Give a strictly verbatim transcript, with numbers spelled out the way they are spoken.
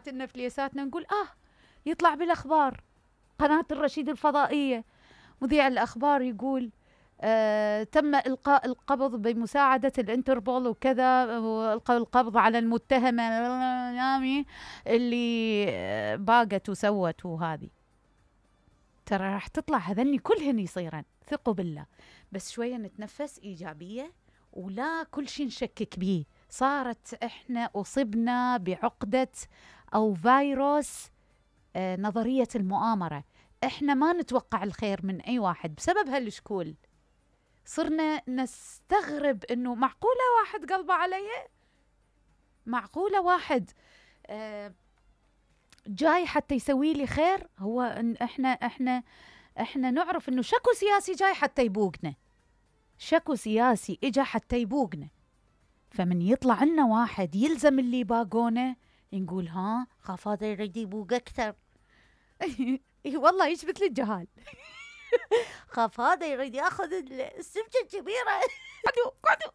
جماعة النفليساتنا نقول آه يطلع بالأخبار قناة الرشيد الفضائية مذيع الأخبار يقول آه تم إلقاء القبض بمساعدة الانتربول وكذا، وإلقاء القبض على المتهمة اللي باقت وسوت. وهذه ترى راح تطلع هذني كلهن يصيرن، ثقوا بالله. بس شوية نتنفس إيجابية ولا كل شيء نشكك بيه. صارت إحنا أصبنا بعقدة أو فيروس آه نظرية المؤامرة. إحنا ما نتوقع الخير من أي واحد بسبب هالشكول. صرنا نستغرب إنه معقولة واحد قلبه علي؟ معقولة واحد آه جاي حتى يسوي لي خير؟ هو إن إحنا إحنا إحنا نعرف إنه شكو سياسي جاي حتى يبوقنا، شكو سياسي إجا حتى يبوقنا. فمن يطلع لنا واحد يلزم اللي باقونه نقول ها خاف هذا يريد يبوق أكثر. والله يشبت لي الجهال. خاف هذا يريد ياخذ السمكة الكبيرة. قعدوا قعدوا